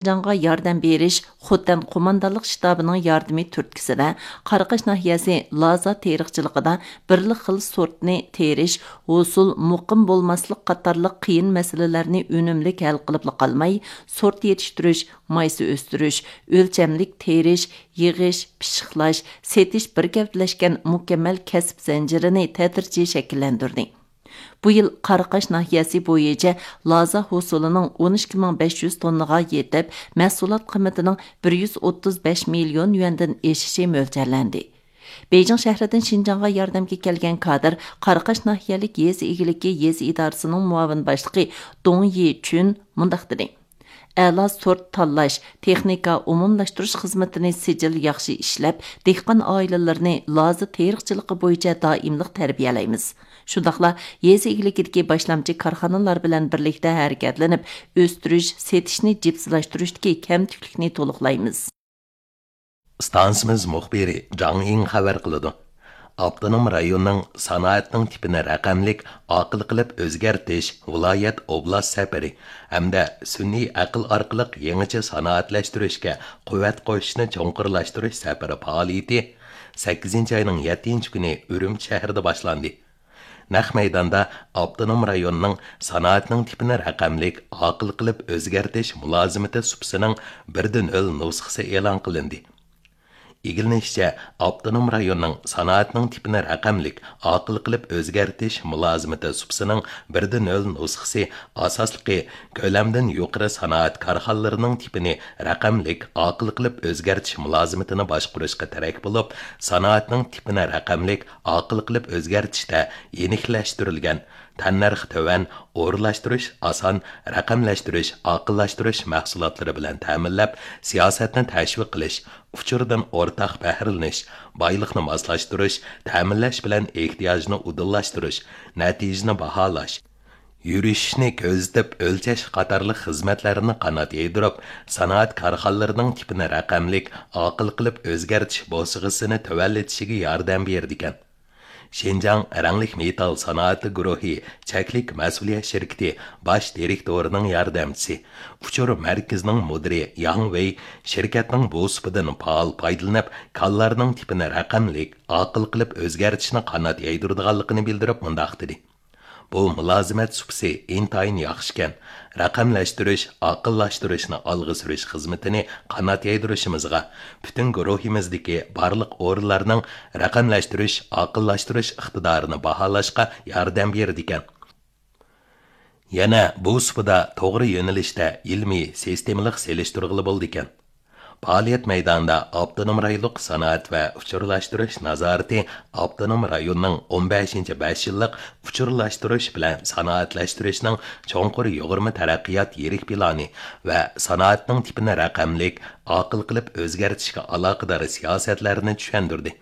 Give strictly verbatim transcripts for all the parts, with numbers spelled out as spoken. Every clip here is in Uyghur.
شىنجاڭغا ياردەم بېرىش خوتەن قوماندانلىق شتابىنىڭ ياردىمى تۈرتكىسىدە، قاراقاش ناھىيەسى لازا تېرىقچىلىقىدا بىرلا خىل سورتنى تېرىش، ھوسۇل، مۇقىم بولماسلىق قاتارلىق قىيىن مەسىلىلەرنى ئۈنۈملۈك ھەل قىلىپلا قالماي، سورت يېتىشتۈرۈش، مايسا ئۆستۈرۈش، ئۆلچەملىك تېرىش، يىغىش، پىششىقلاش، سېتىش بىر گەۋدىلەشكەن مۇكەممەل كەسىپ زەنجىرىنى تەدرىجىي شەكىللەندۈردى. بۇ يىل قاراقاش ناھىيەسى بويىچە لازا ھوسۇلىنىڭ ئون ئىككى مىڭ بەش يۈز توننىغا يېتىپ، مەھسۇلات قىممىتىنىڭ بىر يۈز ئوتتۇز بەش مىليون يۈەندىن ئېشىشى مۆلچەرلەندى. بېيجىڭ شەھىرىدىن شىنجاڭغا ياردەمگە كەلگەن كادىر قاراقاش ناھىيەلىك يېزا ئىگىلىكى يېزا ئىدارىسىنىڭ مۇئاۋىن باشلىقى دۇڭ يىچۈن مۇنداق دېدى: ئەلا سورت تاللاش، تېخنىكا ئومۇملاشتۇرۇش خىزمىتىنى سىجىل ياخشى ئىشلەپ، دېھقان ئائىلىلىرىنى لازا تېرىقچىلىقى بويىچە دائىملىق تەربىيەلەيمىز. شۇنداقلا يېزا ئىگىلىكىدىكى باشلامچى كارخانىلار بىلەن بىرلىكتە ھەرىكەتلىنىپ، ئۆستۈرۈش، سېتىشنى جىپسىلاشتۇرۇشتىكى كەمتۈكلۈكنى تولۇقلايمىز. ئىستانسىمىز مۇخبىرى جاڭ ئىڭ خەۋەر قىلىدۇ. ئاپتونوم رايوننىڭ سانائەتنىڭ تىپىنى رەقەملىك، ئاقىل قىلىپ ئۆزگەرتىش ۋىلايەت ئوبلاست سەپىرى ھەمدە سۈنئىي ئەقىل ئارقىلىق يېڭىچە سانائەتلەشتۈرۈشكە قۇۋۋەت قوشۇشنى چوڭقۇرلاشتۇرۇش سەپىرى پائالىيىتى سەككىزىنچى ئاينىڭ يەتتىنچى كۈنى ئۈرۈمچى شەھىرىدە باشلاندى. نەق مەيداندا ئاپتونوم رايوننىڭ سانائەتنىڭ تىپىنى رەقەملىك، ئاقىل قىلىپ ئۆزگەرتىش مۇلازىمىتى سۇپىسىنىڭ بىردىن نۆل نۇسخىسى ئېلان قىلىندى. ئىگىلىنىشىچە، ئاپتونوم رايوننىڭ سانائەتنىڭ تىپىنى رەقەملىك، ئاقىل قىلىپ ئۆزگەرتىش مۇلازىمىتى سۇپىسىنىڭ بىردىن نۆل نۇسخىسى ئاساسلىقى كۆلەمدىن يۇقىرى سانائەت كارخانىلىرىنىڭ تىپىنى رەقەملىك، ئاقىل قىلىپ ئۆزگەرتىش مۇلازىمىتىنى باشقۇرۇشقا تىرەك بولۇپ، سانائەتنىڭ تىپىنى رەقەملىك، ئاقىل قىلىپ ئۆزگەرتىشتە يېنىكلەشتۈرۈلگەن، تەننەرخى تۆۋەن، ئورۇنلاشتۇرۇش ئاسان، رەقەملەشتۈرۈش، ئاقىللاشتۇرۇش مەھسۇلاتلىرى بىلەن تەمىنلەپ، سىياسەتنى تەشۋىق قىلىش، ئۇچۇردىن ئورتاق بەھرىلىنىش، بايلىقنى ماسلاشتۇرۇش، تەمىنلەش بىلەن ئېھتىياجنى ئۇدۇللاشتۇرۇش، نەتىجىنى باھالاش، يۈرۈشۈشنى كۆزىتىپ ئۆلچەش قاتارلىق خىزمەتلەرنى قانات يايدۇرۇپ، سانائەت كارخانىلىرىنىڭ تىپىنى رەقەملىك، ئاقىل قىلىپ ئۆزگەرتىش بوسۇغىسىنى تۆۋەنلىتىشىگە ياردەم بېرىدىكەن. شىنجاڭ رەڭلىك مېتال سانائىتى گۇرۇھى چەكلىك مەسئۇلىيەت شىركىتى باش دىرېكتورىنىڭ ياردەمچىسى، ئۇچۇر مەركىزىنىڭ مۇدىرى ياڭ ۋېي شىركەتنىڭ بۇ سۇپىدىن پائال پايدىلىنىپ، كانلارنىڭ تىپىنى رەقەملىك، ئاقىل قىلىپ ئۆزگەرتىشنى قانات يايدۇرىدىغانلىقىنى بىلدۈرۈپ مۇنداق دېدى: بۇ مۇلازىمەت سۇپىسى ئىنتايىن ياخشىكەن. رەقەملەشتۈرۈش، ئاقىللاشتۇرۇشنى ئالغا سۈرۈش خىزمىتىنى قانات يايدۇرۇشىمىزغا، پۈتۈن گۇرۇھىمىزدىكى بارلىق ئورۇنلارنىڭ رەقەملەشتۈرۈش، ئاقىللاشتۇرۇش ئىقتىدارىنى باھالاشقا ياردەم بېرىدىكەن. يەنە بۇ سۇپىدا توغرا يۆنىلىشتە ئىلمىي، سىستېمىلىق سېلىشتۇرغىلى بولىدىكەن. پائالىيەت مەيدانىدا ئاپتونوم رايونلۇق سانائەت ۋە ئۇچۇرلاشتۇرۇش نازارىتى ئاپتونوم رايوننىڭ ئون بەشىنچى بەش يىللىق ئۇچۇرلاشتۇرۇش بىلەن سانائەتلەشتۈرۈشنىڭ چوڭقۇر يۇغۇرما تەرەققىيات يىرىك پىلانى ۋە سانائەتنىڭ تىپىنى رەقەملىك، ئاقىل قىلىپ ئۆزگەرتىشكە ئالاقىدار سىياسەتلەرنى چۈشەندۈردى.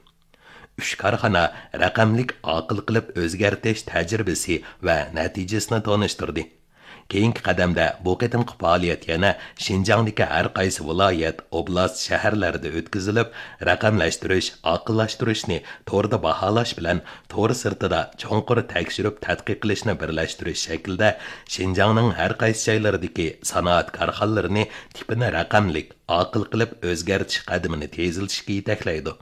ئۈچ كارخانا رەقەملىك ئاقىل قىلىپ ئۆزگەرتىش تەجرىبىسى ۋە نەتىجىسىنى تونۇشتۇردى. كېيىنكى قەدەمدە بۇ قېتىمقى پائالىيەت يەنە شىنجاڭدىكى ھەر قايسى ۋىلايەت، ئوبلاست، شەھەرلەردە ئۆتكۈزۈلۈپ، رەقەملەشتۈرۈش، ئاقىللاشتۇرۇشنى توردا باھالاش بىلەن تور سىرتىدا چوڭقۇر تەكشۈرۈپ تەتقىق قىلىشنى بىرلەشتۈرۈش شەكلىدە شىنجاڭنىڭ ھەر قايسى جايلىرىدىكى سانائەت كارخانىلىرىنى تىپىنى رەقەملىك، ئاقىل قىلىپ ئۆزگەرتىش قەدىمىنى تېزلىتىشكە يېتەكلەيدۇ.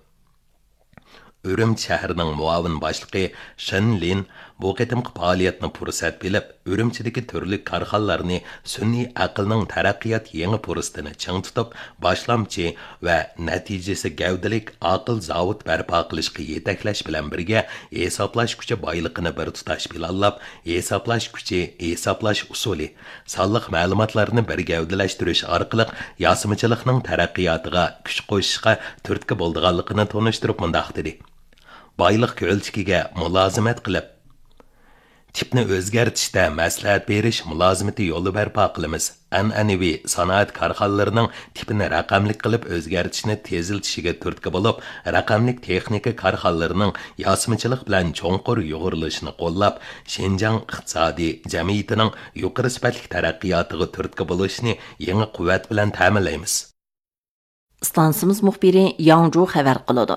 ئۈرۈمچى شەھىرىنىڭ مۇئاۋىن باشلىقى شېن لىن بۇ قېتىمقى پائالىيەتنى پۇرسەت بىلىپ، ئۈرۈمچىدىكى تۈرلۈك كارخانىلارنى سۈنئىي ئەقىلنىڭ تەرەققىيات يېڭى پۇرسىتىنى چىڭ تۇتۇپ، باشلامچى ۋە نەتىجىسى گەۋدىلىك ئاقىل زاۋۇت بەرپا قىلىشقا يېتەكلەش بىلەن بىرگە، ھېسابلاش كۈچى بايلىقىنى بىر تۇتاش پىلانلاپ، ھېسابلاش كۈچى، ھېسابلاش ئۇسۇلى، سانلىق مەلۇماتلارنى بىر گەۋدىلەشتۈرۈش ئارقىلىق ياسىمىچىلىقنىڭ تەرەققىياتىغا كۈچ قوشۇشقا تۈرتكە بولىدىغانلىقىنى تونۇشتۇرۇپ مۇنداق دېدى: بايلىق كۆلچىكىگە مۇلازىمەت قىلىپ، تىپنى ئۆزگەرتىشتە مەسلىھەت بېرىش مۇلازىمىتى يولى بەرپا قىلىمىز. ئەنئەنىۋى سانائەت كارخانىلىرىنىڭ تىپىنى رەقەملىك قىلىپ ئۆزگەرتىشنى تېزلىتىشىگە تۈرتكە بولۇپ، رەقەملىك تېخنىكا كارخانىلىرىنىڭ ياسىمىچىلىق بىلەن چوڭقۇر يۇغۇرۇلۇشىنى قوللاپ، شىنجاڭ ئىقتىسادىي جەمئىيىتىنىڭ يۇقىرى سۈپەتلىك تەرەققىياتىغا تۈرتكە بولۇشىنى يېڭى قۇۋۋەت بىلەن تەمىنلەيمىز. ئىستانسىمىز مۇخبىرى ياڭ جۇ خەۋەر قىلىدۇ.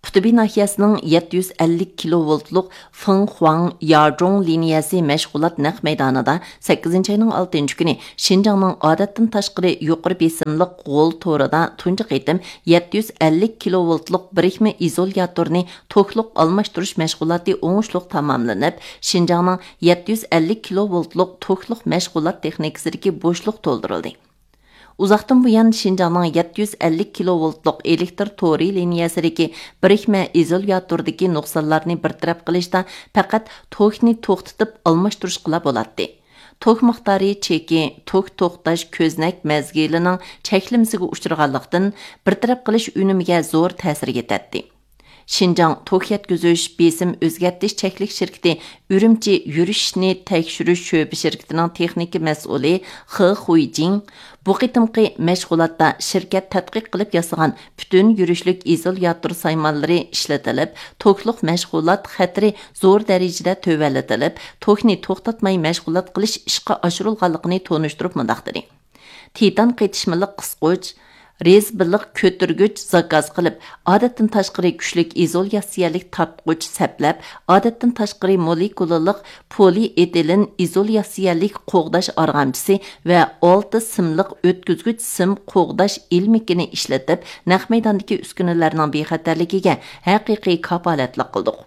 قۇتبى ناھىيەسىنىڭ يەتتە يۈز ئەللىك كىلوۋولتلۇق فېڭخۇاڭ ياجۇڭ لىنىيەسى مەشغۇلات نەق مەيدانىدا سەككىزىنچى ئاينىڭ ئالتىنچى كۈنى شىنجاڭنىڭ ئادەتتىن تاشقىرى يۇقىرى بېسىملىق غول تورىدا تۇنجى قېتىم يەتتە يۈز ئەللىك كىلوۋولتلۇق بىرىكمە ئىزولياتورنى توكلۇق ئالماشتۇرۇش مەشغۇلاتى ئوڭۇشلۇق تاماملىنىپ، شىنجاڭنىڭ يەتتە يۈز ئەللىك كىلوۋولتلۇق توكلۇق مەشغۇلات تېخنىكىسىدىكى بوشلۇق تولدۇرۇلدى. ئۇزاقتىن بۇيان شىنجاڭنىڭ يەتتە يۈز ئەللىك كىلوۋولتلۇق ئېلېكتر تورى لىنىيەسىدىكى بىرىكمە ئىزولياتوردىكى نۇقسانلارنى بىر تەرەپ قىلىشتا پەقەت توكنى توختىتىپ ئالماشتۇرۇشقىلا بولاتتى. توك مىقدارى چېكى، توك توختاش كۆزنەك مەزگىلىنىڭ چەكلىمىسىگە ئۇچرىغانلىقتىن، بىر تەرەپ قىلىش ئۈنۈمىگە زور تەسىر يېتەتتى. شىنجاڭ توك يەتكۈزۈش بېسىم ئۆزگەرتىش چەكلىك شىركىتى ئۈرۈمچى يۈرۈشنى تەكشۈرۈش شۆبە شىركىتىنىڭ تېخنىكا مەسئۇلى خې خۇيجىڭ بۇ قېتىمقى مەشغۇلاتتا شىركەت تەتقىق قىلىپ ياسىغان پۈتۈن يۈرۈشلۈك ئىزولياتور سايمانلىرى ئىشلىتىلىپ، توكلۇق مەشغۇلات خەتىرى زور دەرىجىدە تۆۋەنلىتىلىپ، توكنى توختاتماي مەشغۇلات قىلىش ئىشقا ئاشۇرۇلغانلىقىنى تونۇشتۇرۇپ مۇنداق دېدى. تىتان قېتىشمىلىق قىسقۇچ، رېزبىلىق كۆتۈرگۈچ زاكاز قىلىپ، ئادەتتىن تاشقىرى كۈچلۈك ئىزولياتسىيەلىك تارتقۇچ سەپلەپ، ئادەتتىن تاشقىرى مولېكۇلىلىق پولىئېتىلېن ئىزولياتسىيەلىك قوغداش ئارغامچىسى ۋە ئالتە سىملىق ئۆتكۈزگۈچ سىم قوغداش ئىلمىكىنى ئىشلىتىپ، نەق مەيداندىكى ئۈسكۈنىلەرنىڭ بىخەتەرلىكىگە ھەقىقىي كاپالەتلىك قىلدۇق.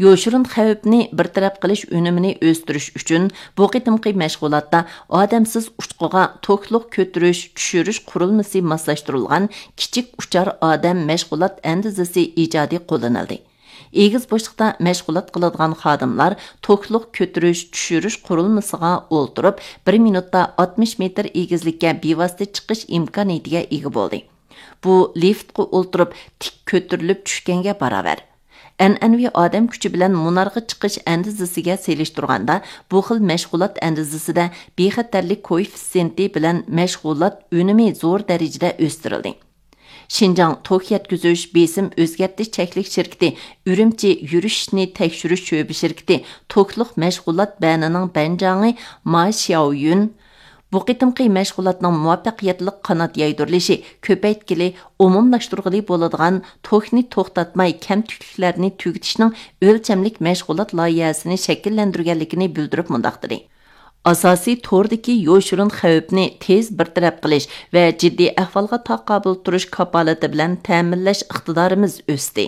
يوشۇرۇن خەۋپنى بىر تەرەپ قىلىش ئۈنۈمىنى ئۆستۈرۈش ئۈچۈن، بۇ قېتىمقى مەشغۇلاتتا ئادەمسىز ئۇچقۇغا توكلۇق كۆتۈرۈش، چۈشۈرۈش قۇرۇلمىسى ماسلاشتۇرۇلغان كىچىك ئۇچار ئادەم مەشغۇلات ئەندىزىسى ئىجادىي قوللىنىلدى. ئېگىز بوشلۇقتا مەشغۇلات قىلىدىغان خادىملار توكلۇق كۆتۈرۈش، چۈشۈرۈش قۇرۇلمىسىغا ئولتۇرۇپ، بىر مىنۇتتا ئاتمىش مېتىر ئېگىزلىككە بىۋاسىتە چىقىش ئىمكانىيىتىگە ئىگە بولدى. بۇ لىفتقا ئولتۇرۇپ تىك كۆتۈرۈلۈپ چۈشكەنگە باراۋەر. ئەنئەنىۋى ئادەم كۈچى بىلەن مۇنارغا چىقىش ئەندىزىسىگە سېلىشتۇرغاندا، بۇ خىل مەشغۇلات ئەندىزىسىدە بىخەتەرلىك كوئېففىتسېنتى بىلەن مەشغۇلات ئۈنۈمى زور دەرىجىدە ئۆستۈرۈلدى. شىنجاڭ توك يەتكۈزۈش بېسىم ئۆزگەرتىش چەكلىك شىركىتى ئۈرۈمچى يۈرۈشنى تەكشۈرۈش شۆبە شىركىتى توكلۇق مەشغۇلات بەنىنىڭ بەنجاڭى ما شياۋيۈن، بۇ قېتىمقى مەشغۇلاتنىڭ مۇۋەپپەقىيەتلىك قانات يايدۇرۇلۇشى كۆپەيتكىلى، ئومۇملاشتۇرغىلى بولىدىغان توكنى توختاتماي كەمتۈكلۈكلەرنى تۈگىتىشنىڭ ئۆلچەملىك مەشغۇلات لايىھەسىنى شەكىللەندۈرگەنلىكىنى بىلدۈرۈپ مۇنداق دېدى: ئاساسىي توردىكى يوشۇرۇن خەۋپنى تېز بىر تەرەپ قىلىش ۋە جىددىي ئەھۋالغا تاقابىل تۇرۇش كاپالىتى بىلەن تەمىنلەش ئىقتىدارىمىز ئۆستى.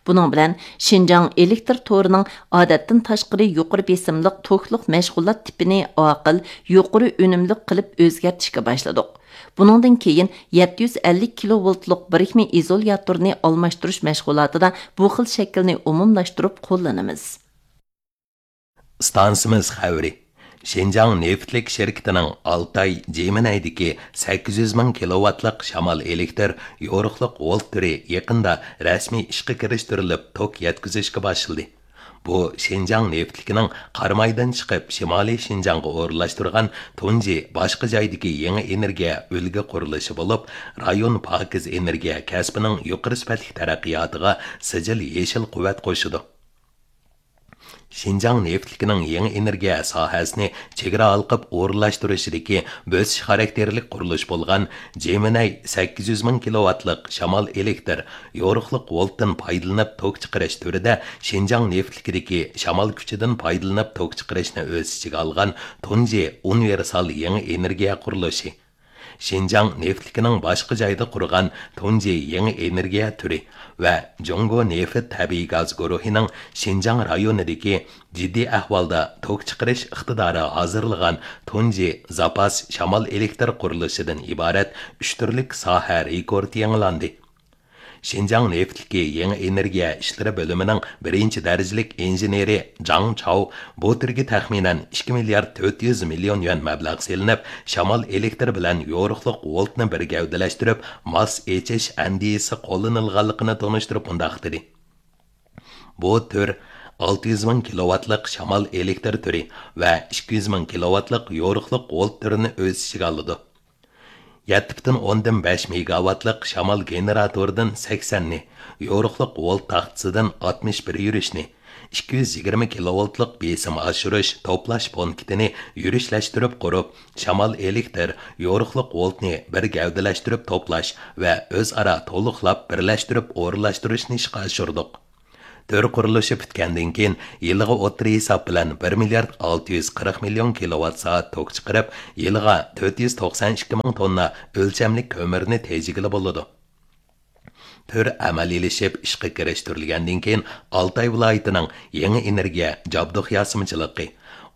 بۇنىڭ بىلەن شىنجاڭ ئېلېكتر تورىنىڭ ئادەتتىن تاشقىرى يۇقىرى بېسىملىق توكلۇق مەشغۇلات تىپىنى ئاقىل، يۇقىرى ئۈنۈملۈك قىلىپ ئۆزگەرتىشكە باشلىدۇق. بۇنىڭدىن كېيىن يەتتە يۈز ئەللىك كىلوۋولتلۇق بىرىكمە ئىزولياتورنى ئالماشتۇرۇش مەشغۇلاتىدا بۇ خىل شەكىلنى ئومۇملاشتۇرۇپ قوللىنىمىز. ئىستانسىمىز خەۋىرى. شىنجاڭ نېفىتلىك شىركىتىنىڭ ئالتاي جىمىنەيدىكى سەككىز يۈز مىڭ كىلوۋاتلىق شامال ئېلېكتر يورۇقلۇق ۋولت تۈرى يېقىندا رەسمىي ئىشقا كىرىشتۈرۈلۈپ، توك يەتكۈزۈشكە باشلىدى. بۇ شىنجاڭ نېفىتلىكىنىڭ قارامايدىن چىقىپ، شىمالىي شىنجاڭغا ئورۇنلاشتۇرغان تۇنجى باشقا جايدىكى يېڭى ئېنېرگىيە ئۈلگە قۇرۇلۇشى بولۇپ، رايون پاكىز ئېنېرگىيە كەسپىنىڭ يۇقىرى سۈپەتلىك تەرەققىياتىغا سىجىل يېشىل قۇۋۋەت قوشىدۇ. شىنجاڭ نېفىتلىكىنىڭ يېڭى ئېنېرگىيە ساھەسىنى چېگرا ھالقىپ ئورۇنلاشتۇرۇشىدىكى بۆسۈش خاراكتېرلىك قۇرۇلۇش بولغان جېمىنەي سەككىز يۈز مىڭ كىلوۋاتلىق شامال ئېلېكتر يورۇقلۇق ۋولتتىن پايدىلىنىپ توك چىقىرىش تۈرىدە شىنجاڭ نېفىتلىكىدىكى شامال كۈچىدىن پايدىلىنىپ توك چىقىرىشنى ئۆز ئىچىگە ئالغان تۇنجى ئۇنىۋېرسال يېڭى ئېنېرگىيە قۇرۇلۇشى. شىنجاڭ نېفىتلىكىنىڭ باشقا جايدا قۇرغان تۇنجى يېڭى ئېنېرگىيە تۈرى ۋە جۇڭگو نېفىت تەبىئىي گاز گۇرۇھىنىڭ شىنجاڭ رايونىدىكى جىددىي ئەھۋالدا توك چىقىرىش ئىقتىدارى ھازىرلىغان تۇنجى زاپاس شامال ئېلېكتر قۇرۇلۇشىدىن ئىبارەت ئۈچ تۈرلۈك ساھە رېكورتى يېڭىلاندى. شىنجاڭ نېفىتلىكى يېڭى ئېنېرگىيە ئىشلىرى بۆلۈمىنىڭ بىرىنچى دەرىجىلىك ئىنژېنېرى جاڭ چاۋ بۇ تۈرگە تەخمىنەن ئىككى مىليارد تۆت يۈز مىليون يۈەن مەبلەغ سېلىنىپ، شامال ئېلېكتىر بىلەن يورۇقلۇق ۋولتنى بىر گەۋدىلەشتۈرۈپ، ماس ئېچىش ئەندىزىسى قوللىنىلغانلىقىنى تونۇشتۇرۇپ مۇنداق دېدى: بۇ تۈر ئالتە يۈز مىڭ كىلوۋاتلىق شامال ئېلېكتر تۈرى ۋە ئىككى يۈز مىڭ كىلوۋاتلىق يورۇقلۇق ۋولت تۈرىنى ئۆز ئىچىگە ئالىدۇ. يەتتە پۈتۈن ئوندىن بەش مېگاۋاتلىق شامال گېنېراتورىدىن سەكسەننى، يورۇقلۇق ۋولت تاختىسىدىن ئاتمىش بىر يۈرۈشنى، ئىككى يۈز يىگىرمە كىلوۋولتلۇق بېسىم ئاشۇرۇش، توپلاش پونكىتىنى يۈرۈشلەشتۈرۈپ قۇرۇپ، شامال ئېلېكتر، يورۇقلۇق ۋولتنى بىر گەۋدىلەشتۈرۈپ توپلاش ۋە ئۆزئارا تولۇقلاپ بىرلەشتۈرۈپ ئورۇنلاشتۇرۇشنى ئىشقا ئاشۇردۇق. تۈر قۇرۇلۇشى پۈتكەندىن كېيىن، يىلىغا ئوتتۇرا ھېساب بىلەن بىر مىليارد ئالتە يۈز قىرىق مىليون كىلوۋات سائەت توك چىقىرىپ، يىلىغا تۆت يۈز توقسان ئىككى مىڭ توننا ئۆلچەملىك كۆمۈرنى تېجىگىلى بولىدۇ. تۈر ئەمەلىيلىشىپ ئىشقا كىرىشتۈرۈلگەندىن كېيىن، ئالتاي ۋىلايىتىنىڭ يېڭى ئېنېرگىيە جابدۇق ياسىمىچىلىقى،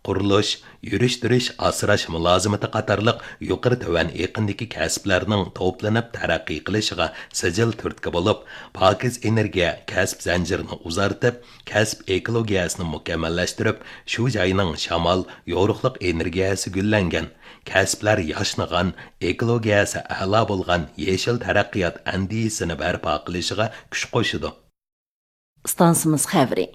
قۇرۇلۇش، يۈرۈشتۈرۈش، ئاسراش مۇلازىمىتى قاتارلىق يۇقىرى تۆۋەن ئېقىندىكى كەسىپلەرنىڭ توپلىنىپ تەرەققىي قىلىشىغا سىجىل تۈرتكە بولۇپ، پاكىز ئېنېرگىيە كەسىپ زەنجىرىنى ئۇزارتىپ، كەسىپ ئېكولوگىيەسىنى مۇكەممەللەشتۈرۈپ، شۇ جاينىڭ شامال، يورۇقلۇق ئېنېرگىيەسى گۈللەنگەن، كەسىپلەر ياشنىغان، ئېكولوگىيەسى ئەلا بولغان يېشىل تەرەققىيات ئەندىزىسىنى بەرپا قىلىشىغا كۈچ قوشىدۇ. ئىستانسىمىز خەۋىرى.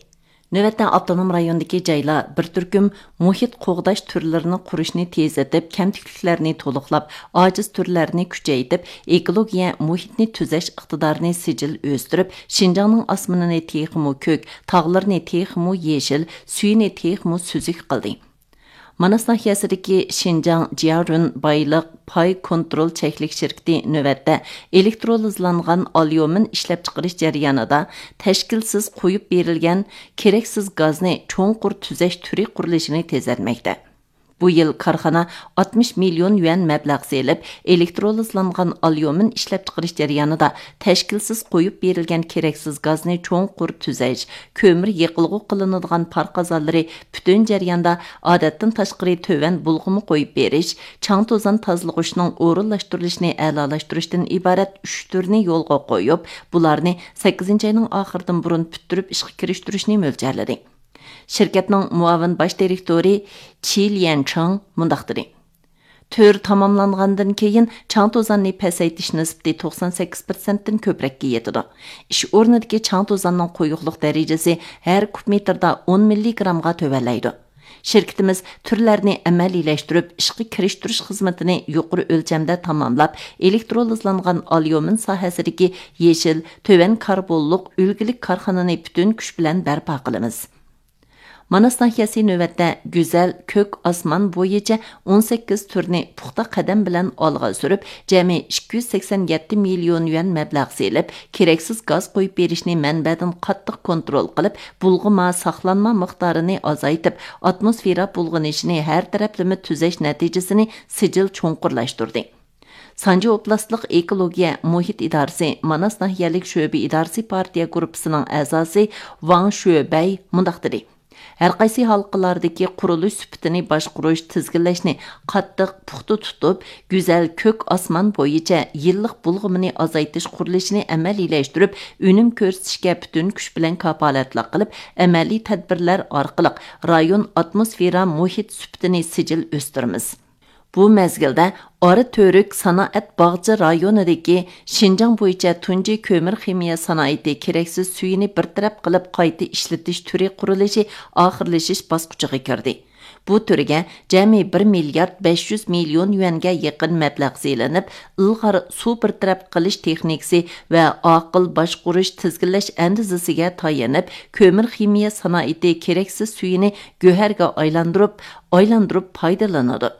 نۆۋەتتە ئاپتونوم رايوندىكى جايلار بىر تۈركۈم مۇھىت قوغداش تۈرلىرىنى قۇرۇشنى تېزلىتىپ، كەمتۈكلۈكلەرنى تولۇقلاپ، ئاجىز تۈرلەرنى كۈچەيتىپ، ئېكولوگىيە مۇھىتنى تۈزەش ئىقتىدارىنى سىجىل ئۆستۈرۈپ، شىنجاڭنىڭ ئاسمىنىنى تېخىمۇ كۆك، تاغلىرىنى تېخىمۇ يېشىل، سۈيىنى تېخىمۇ سۈزۈك قىلدى. ماناس ناھىيەسىدىكى شىنجاڭ جيارۈن بايلىق پاي كونترول چەكلىك شىركىتى نۆۋەتتە ئېلېكترولىزلانغان ئاليۇمىن ئىشلەپچىقىرىش جەريانىدا تەشكىلسىز قويۇپ بېرىلگەن كېرەكسىز گازنى چوڭقۇر تۈزەش تۈرى قۇرۇلۇشىنى تېزلەتمەكتە. بۇ يىل كارخانا ئاتمىش مىليون يۈەن مەبلەغ سېلىپ، ئېلېكترولىزلانغان ئاليۇمىن ئىشلەپچىقىرىش جەريانىدا تەشكىلسىز قويۇپ بېرىلگەن كېرەكسىز گازنى چوڭقۇر تۈزەش، كۆمۈر يېقىلغۇ قىلىنىدىغان پار قازانلىرى پۈتۈن جەرياندا ئادەتتىن تاشقىرى تۆۋەن بۇلغىما قويۇپ بېرىش، چاڭ توزان تازىلىغۇچنىڭ ئورۇنلاشتۇرۇلۇشىنى ئەلالاشتۇرۇشتىن ئىبارەت ئۈچ تۈرنى يولغا قويۇپ، بۇلارنى سەككىزىنچى ئاينىڭ ئاخىرىدىن بۇرۇن پۈتتۈرۈپ ئىشقا كىرىشتۈرۈشنى مۆلچەرلىدى. شىركەتنىڭ مۇئاۋىن باش دىرېكتورى چى ليەنچىڭ مۇنداق دېدى: تۈر تاماملانغاندىن كېيىن، چاڭ توزاننى پەسەيتىش نىسبىتى توقسان سەككىز پىرسەنتتىن كۆپرەككە يېتىدۇ. ئىش ئورنىدىكى چاڭ توزاننىڭ قويۇقلۇق دەرىجىسى ھەر كۇب مېتىردا ئون مىللىگرامغا تۆۋەنلەيدۇ. شىركىتىمىز تۈرلەرنى ئەمەلىيلەشتۈرۈپ، ئىشقا كىرىشتۈرۈش خىزمىتىنى يۇقىرى ئۆلچەمدە تاماملاپ، ئېلېكترولىزلانغان ئاليۇمىن ساھەسىدىكى يېشىل، تۆۋەن كاربونلۇق، ئۈلگىلىك كارخانىنى پۈتۈن كۈچ بىلەن بەرپا قىلىمىز. ماناس ناھىيەسى نۆۋەتتە گۈزەل كۆك ئاسمان بويىچە ئون سەككىز تۈرنى پۇختا قەدەم بىلەن ئالغا سۈرۈپ، جەمئىي ئىككى يۈز سەكسەن يەتتە مىليون يۈەن مەبلەغ سېلىپ، كېرەكسىز گاز قويۇپ بېرىشنى مەنبەدىن قاتتىق كونترول قىلىپ، بۇلغىما ساقلانما مىقدارىنى ئازايتىپ، ئاتموسفېرا بۇلغىنىشىنى ھەر تەرەپلىمە تۈزەش نەتىجىسىنى سىجىل چوڭقۇرلاشتۇردى. سانجى ئوبلاستلىق ئېكولوگىيە مۇھىت ئىدارىسى ماناس ناھىيەلىك شۆبە ئىدارىسى پارتىيە گۇرۇپپىسىنىڭ ئەزاسى ۋاڭ شۆبەي مۇنداق دېدى: ھەرقايسى ھالقىلاردىكى قۇرۇلۇش سۈپىتىنى باشقۇرۇش، تىزگىنلەشنى قاتتىق، پۇختا تۇتۇپ، گۈزەل كۆك ئاسمان بويىچە يىللىق بۇلغىمىنى ئازايتىش قۇرۇلۇشىنى ئەمەلىيلەشتۈرۈپ، ئۈنۈم كۆرسىتىشكە پۈتۈن كۈچ بىلەن كاپالەتلىك قىلىپ، ئەمەلىي تەدبىرلەر ئارقىلىق رايون ئاتموسفېرا مۇھىت سۈپىتىنى سىجىل ئۆستۈرىمىز. بۇ مەزگىلدە ئارا تۈرك سانائەت باغچە رايونىدىكى شىنجاڭ بويىچە تۇنجى كۆمۈر خىمىيە سانائىتى كېرەكسىز سۈيىنى بىر تەرەپ قىلىپ قايتا ئىشلىتىش تۈرى قۇرۇلۇشى ئاخىرلىشىش باسقۇچىغا كىردى. بۇ تۈرگە جەمئىي بىر مىليارد بەش يۈز مىليون يۈەنگە يېقىن مەبلەغ سېلىنىپ، ئىلغار سۇ بىر تەرەپ قىلىش تېخنىكىسى ۋە ئاقىل باشقۇرۇش تىزگىنلەش ئەندىزىسىگە تايىنىپ، كۆمۈر خىمىيە سانائىتى كېرەكسىز سۈيىنى گۆھەرگە ئايلاندۇرۇپ، ئايلاندۇرۇپ پايدىلىنىدۇ.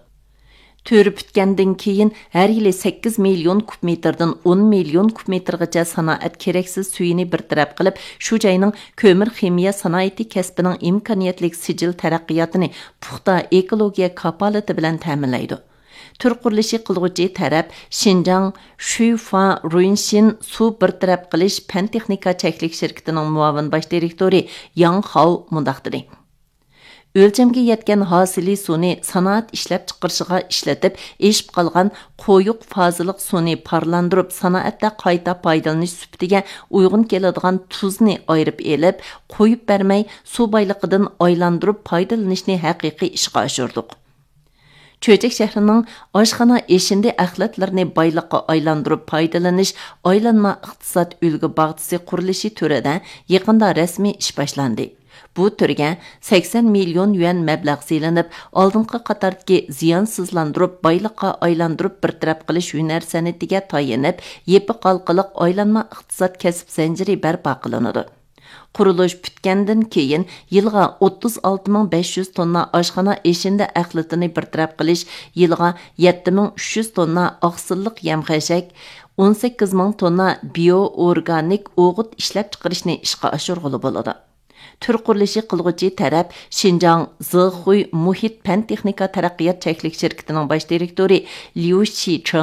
تۈر پۈتكەندىن كېيىن، ھەر يىلى سەككىز مىليون كۇب مېتىردىن ئون مىليون كۇب مېتىرغىچە سانائەت كېرەكسىز سۈيىنى بىر تەرەپ قىلىپ، شۇ جاينىڭ كۆمۈر خىمىيە سانائىتى كەسپىنىڭ ئىمكانىيەتلىك سىجىل تەرەققىياتىنى پۇختا ئېكولوگىيە كاپالىتى بىلەن تەمىنلەيدۇ. تۈر قۇرۇلۇشى قىلغۇچى تەرەپ شىنجاڭ شۈيفا رۇنشىن سۇ بىر تەرەپ قىلىش پەن تېخنىكا چەكلىك شىركىتىنىڭ مۇئاۋىن باش دىرېكتورى ياڭ خاۋ مۇنداق دېدى: ئۆلچەمگە يەتكەن ھاسىلى سۇنى سانائەت ئىشلەپچىقىرىشىغا ئىشلىتىپ، ئېشىپ قالغان قويۇق فازىلىق سۇنى پارلاندۇرۇپ، سانائەتتە قايتا پايدىلىنىش سۈپىتىگە ئۇيغۇن كېلىدىغان تۇزنى ئايرىپ ئېلىپ، قويۇپ بەرمەي، سۇ بايلىقىدىن ئايلاندۇرۇپ پايدىلىنىشنى ھەقىقىي ئىشقا ئاشۇردۇق. چۆچەك شەھىرىنىڭ ئاشخانا ئېشىندى ئەخلەتلىرىنى بايلىققا ئايلاندۇرۇپ پايدىلىنىش ئايلانما ئىقتىساد ئۈلگە باغچىسى قۇرۇلۇشى تۈرىدە يېقىندا رەسمىي ئىش باشلاندى. بۇ تۈرگە سەكسەن مىليون يۈەن مەبلەغ سېلىنىپ، ئالدىنقى قاتاردىكى زىيانسىزلاندۇرۇپ، بايلىققا ئايلاندۇرۇپ بىر تەرەپ قىلىش ھۈنەر سەنئىتىگە تايىنىپ، يېپىق ھالقىلىق ئايلانما ئىقتىساد كەسىپ زەنجىرى بەرپا قىلىنىدۇ. قۇرۇلۇش پۈتكەندىن كېيىن يىلىغا ئوتتۇز ئالتە مىڭ بەش يۈز توننا ئاشخانا ئېشىندى ئەخلىتىنى بىر تەرەپ قىلىش، يىلىغا يەتتە مىڭ ئۈچ يۈز توننا ئاقسىللىق يەم-خەشەك، ئون سەككىز مىڭ توننا بىيو ئورگانىك ئوغۇت ئىشلەپچىقىرىشنى ئىشقا ئاشۇرغىلى بولىدۇ. تۈر قۇرۇلۇشى قىلغۇچى تەرەپ شىنجاڭ زېخۇي مۇھىت پەن تېخنىكا تەرەققىيات چەكلىك شىركىتىنىڭ باش دىرېكتورى ليۇ شىچېڭ